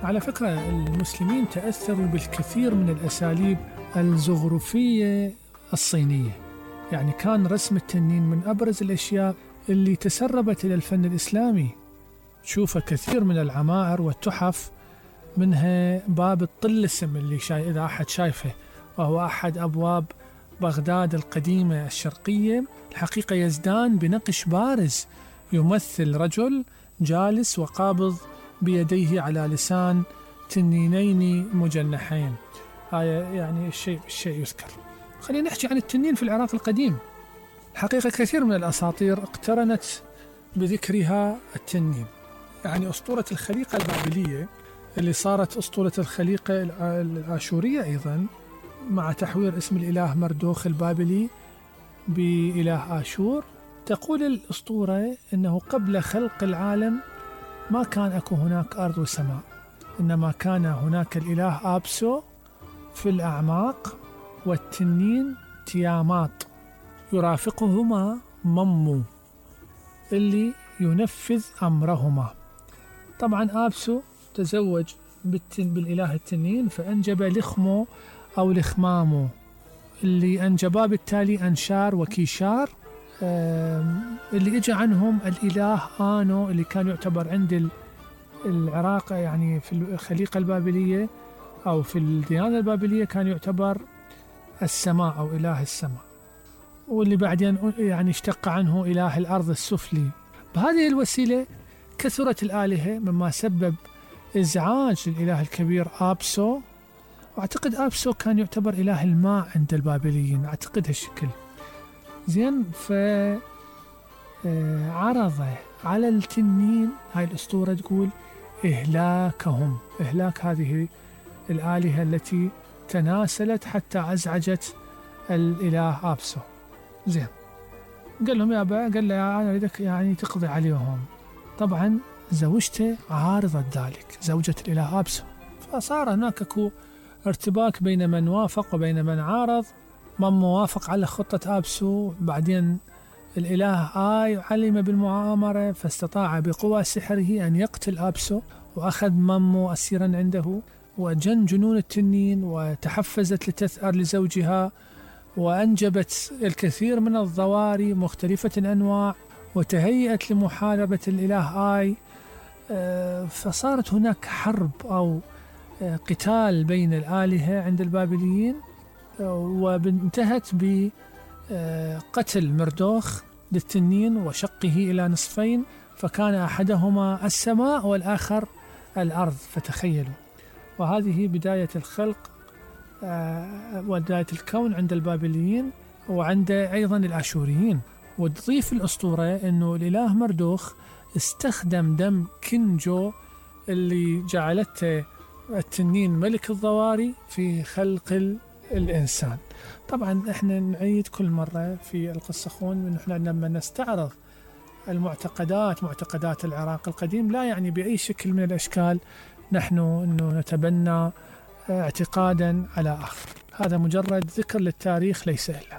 على فكرة المسلمين تأثروا بالكثير من الأساليب الزخرفية الصينية، يعني كان رسم التنين من أبرز الأشياء اللي تسربت إلى الفن الإسلامي. تشوف كثير من العمائر والتحف، منها باب الطلسم اللي إذا أحد شايفه، وهو أحد أبواب بغداد القديمة الشرقية، الحقيقة يزدان بنقش بارز يمثل رجل جالس وقابض بيديه على لسان تنينين مجنحين. هاي يعني الشيء يذكر. خلينا نحكي عن التنين في العراق القديم. حقيقة كثير من الأساطير اقترنت بذكرها التنين، يعني أسطورة الخليقة البابلية اللي صارت أسطورة الخليقة الآشورية أيضا، مع تحوير اسم الإله مردوخ البابلي بإله آشور. تقول الأسطورة أنه قبل خلق العالم ما كان أكو هناك أرض وسماء، إنما كان هناك الإله آبسو في الأعماق، والتنين تيامات يرافقهما ممو اللي ينفذ أمرهما. طبعا آبسو تزوج بالإله التنين فأنجب لخمو أو لخمامو، اللي أنجبا بالتالي أنشار وكيشار، اللي إجا عنهم الإله آنو اللي كان يعتبر عند العراق، يعني في الخليقة البابلية أو في الديانة البابلية كان يعتبر السماء أو إله السماء، واللي بعدين يعني اشتق عنه إله الأرض السفلي. بهذه الوسيلة كثرت الآلهة، مما سبب إزعاج الإله الكبير آبسو. وأعتقد آبسو كان يعتبر إله الماء عند البابليين، أعتقد هالشكل. زين، فعرض على التنين، هاي الأسطورة تقول إهلاكهم، إهلاك هذه الآلهة التي تناسلت حتى أزعجت الإله آبسو. زين، قال لهم قال له أنا أريدك يعني تقضي عليهم. طبعا زوجته عارضت ذلك، زوجة الإله آبسو، فصار هناك أكو ارتباك بين من وافق وبين من عارض. من موافق على خطة آبسو، بعدين الإله علم بالمؤامرة، فاستطاع بقوى سحره أن يقتل آبسو، وأخذ ممو أسيرا عنده، وجن جنون التنين وتحفزت لتثأر لزوجها، وأنجبت الكثير من الضواري مختلفة الأنواع، وتهيأت لمحاربة الإله فصارت هناك حرب أو قتال بين الآلهة عند البابليين، وانتهت بقتل مردوخ للتنين وشقه إلى نصفين، فكان أحدهما السماء والآخر الأرض، فتخيلوا. وهذه بداية الخلق وبداية الكون عند البابليين وعند أيضا الآشوريين. وتضيف الأسطورة أنه الإله مردوخ استخدم دم كنجو اللي جعلته التنين ملك الضواري في خلق الإنسان. طبعا احنا نعيد كل مرة في القصة خون، نحن لما نستعرض معتقدات العراق القديم، لا يعني بأي شكل من الأشكال نحن أنه نتبنى اعتقادا على آخر، هذا مجرد ذكر للتاريخ ليس إلا.